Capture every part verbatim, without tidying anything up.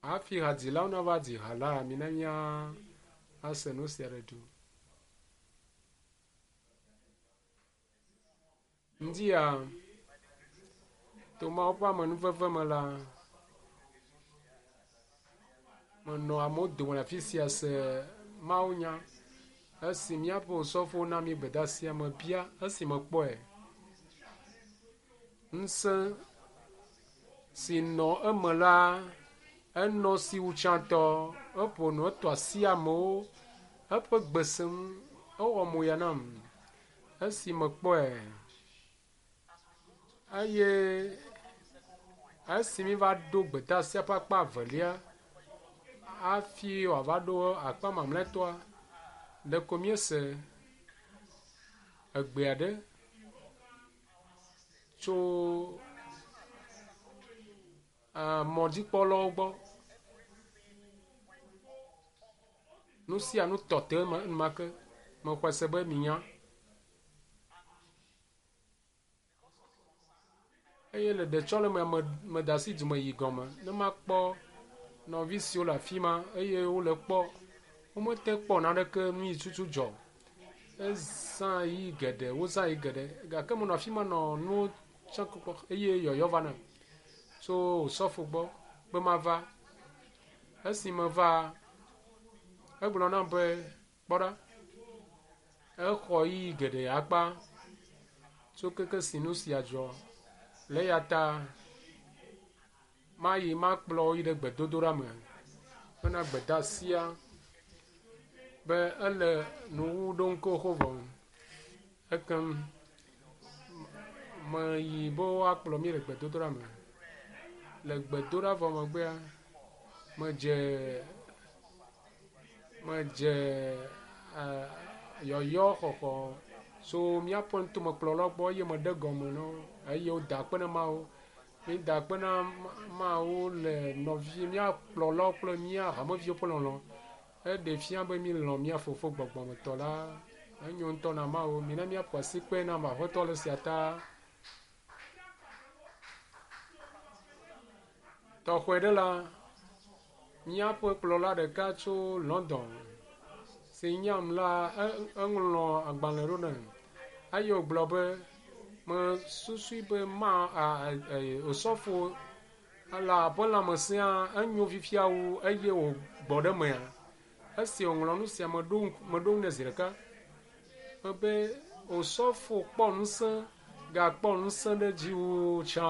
Hafi hadzilawo nava dzi ha la, mina míase nu sia ɖe du. Ŋdia, to Mawu ƒe amenuveve me la, menɔ amewo dome le afi sia se mawunya. Esi míaƒe osɔfowo na mí gbedeasia, mebia esi mekpɔe. Ŋusẽ si nɔ eme la, enɔ si wu tsãtɔ. Eƒo nu, etɔ asi amewo. Eƒe gbe sẽ ŋu. Ewɔ moya nam esi mekpɔe. Eye esi míva ɖo gbedeasia ƒe akpa evelia hafi wòava ɖo akpa mamlɛtɔa, ɖeko míese egbe aɖe tso mɔdzikpɔlawo gbɔ. Nu sia nu tɔ te enumake. Mexɔe se be minya. Eye le ɖetsɔleme me mede asi dume yi gɔme ne makpɔ nɔvi siwo le afi ma eye wole kpɔ. Womete kpɔ naneke nu yi tutu dzɔ. Ezã yi geɖe, wozã yi geɖe gake menɔ afi ma nɔ nuwo tsɔ kpɔ eye yɔyɔ va nam tso osɔfo gbɔ be mava. Esi meva, egblɔ nam be kpɔ ɖa, exɔ ɣeyiɣi geɖe akpa tso keke si nu sia dzɔ. Le eya ta mayi makplɔ wo yi ɖe gbedodoɖa me hena gbedeasia be ele nuwuwu ɖom xoxo vɔ. Ekem meyi be woakplɔ mí le gbedodoɖa me. Le gbedoɖa vɔ megbea, medze medze yɔyɔ xɔxɔ tso míaƒe nutomekplɔlawo gbɔ eye meɖe gɔme na wo eye woda akpe na Mawu. Mída akpe na Mawu le nɔvi mía kplɔlawo kple mía hameviwo ƒe lɔlɔ̃. Eɖe fia be mílɔ̃ mía fofo gbɔgbɔmetɔ la. Enyo ŋutɔ na Mawu. Mina míaƒo asi kpe na Aƒetɔ le esia ta. Tɔxɔe ɖe la, míaƒe kplɔla ɖeka tso London si nyam la, eŋlɔ agbalẽ ɖo nam eye wògblɔ be mesusui be ma osɔfo la ƒe lãmesẽa enyo fifia wu eye wògbɔ ɖe emea. Esi wòŋlɔ nu sia meɖo meɖo ŋu nɛ zi ɖeka be osɔfo kpɔ ŋusẽ gakpɔ ŋusẽ ɖe dzi wu tsã.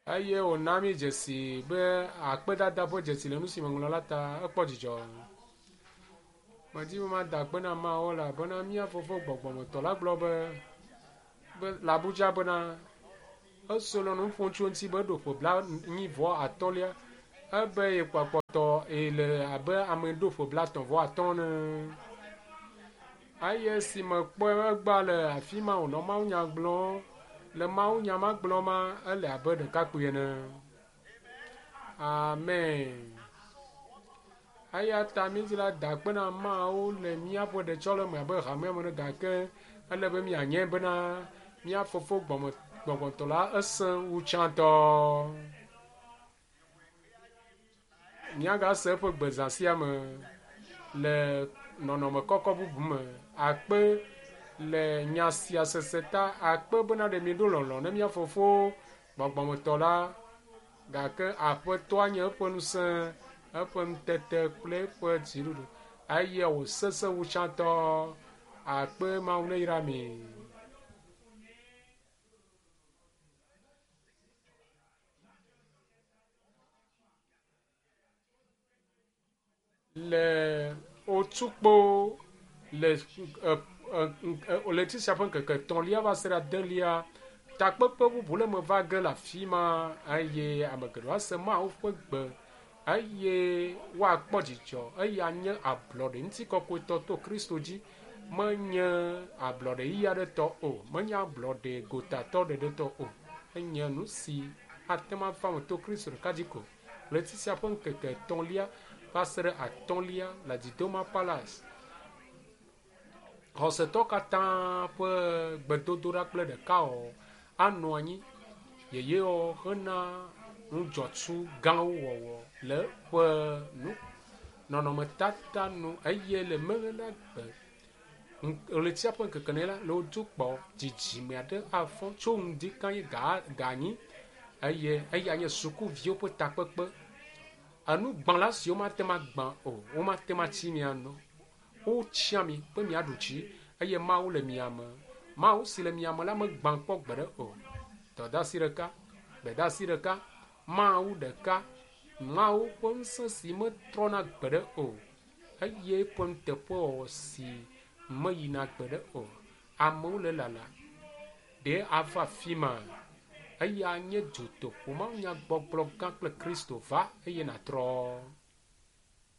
Eye wòna mí dzesi be akpedada ƒe dzesi le nu si meŋlɔ la ta ekpɔ dzidzɔ. Medi be mada akpe na Mawu elabena mía fofo gbɔgbɔmetɔ la gblɔ be be le Abuja bena eso le nu ƒom tso eŋuti be eɖo ƒe blanyi vɔ atɔ̃lia ebe yekpɔkpɔtɔ le abe ame ɖo ƒe blatɔ̃ vɔ atɔ̃ ene. Eye esi mekpɔe egbea le afi ma wònɔ mawunya gblɔm le mawunya ma gblɔm ma ele abe ɖekakpui ene. Amen. Eya ta mídzi la da akpe na Mawu le míaƒe ɖetsɔleme abe hamea me ene gake ele be míanye bena mía fofo gbɔme gbɔgbɔtɔ la esẽ wu tsãtɔ. Míagase eƒe gbe zã sia me le nɔnɔme kɔkɔ bubu me. Akpe le nya sia sese ta akpe bena ɖe míɖo lɔlɔ̃ ne mía fofo gbɔgbɔmetɔ la gake aƒetɔa nye eƒe ŋusẽ, eƒe ŋutete kple eƒe dziɖuɖu eye wòsesẽ wu tsãtɔ. Akpe Mawu neyra mi. Le otukpo le ɣleti sia ƒe ŋkeke etɔ̃lia va se ɖe adelia, takpekpe bubu le me va ge le afi ma eye ame geɖewo ase Mawu ƒe gbe eye woakpɔ dzidzɔ eye anye ablɔɖe ŋutikɔkɔetɔ to Kristo dzi. Menye ablɔɖe ɣi aɖe tɔ o, menye ablɔɖe gotatɔ ɖeɖe tɔ o. Enye nu si ate ŋu ava eme to Kristo ɖeka dzi ko. Ɣleti sia ƒe ŋkeke etɔ̃lia va se ɖe atɔ̃lia le Didoma Palace. Xɔsetɔ katã ƒe gbedodoɖa kple ɖekawɔwɔ anɔ anyi yeyewɔwɔ hena nudzɔtsu gãwo wɔwɔ le eƒe nu nɔnɔmetata nu eye le meɖagbe ɣletia ƒe ŋkeke ne la le wodo kpɔ dzidzime aɖe afɔ tso ŋdi kanye ga ganyi eye eya nye sukuviwo ƒe takpekpe. Enugbãla siwo mate ŋu agbã o, womate ŋu atsi mia nu. Wotsia mi be miaɖu dzi eye Mawu le mia me. Mawu si le mia me la megbã kpɔ gbeɖe o. Dɔdeasi ɖeka, gbedeasi ɖeka, Mawu ɖeka, Mawu ƒe ŋusẽ si metrɔna gbeɖe o eye eƒe nuteƒewɔwɔ si meyina gbeɖe o. Amewo le lala ɖe ava afi ma. Eya nye dutoƒo mawunyagbɔgblɔ gã kple Kristo va eye nàtrɔ.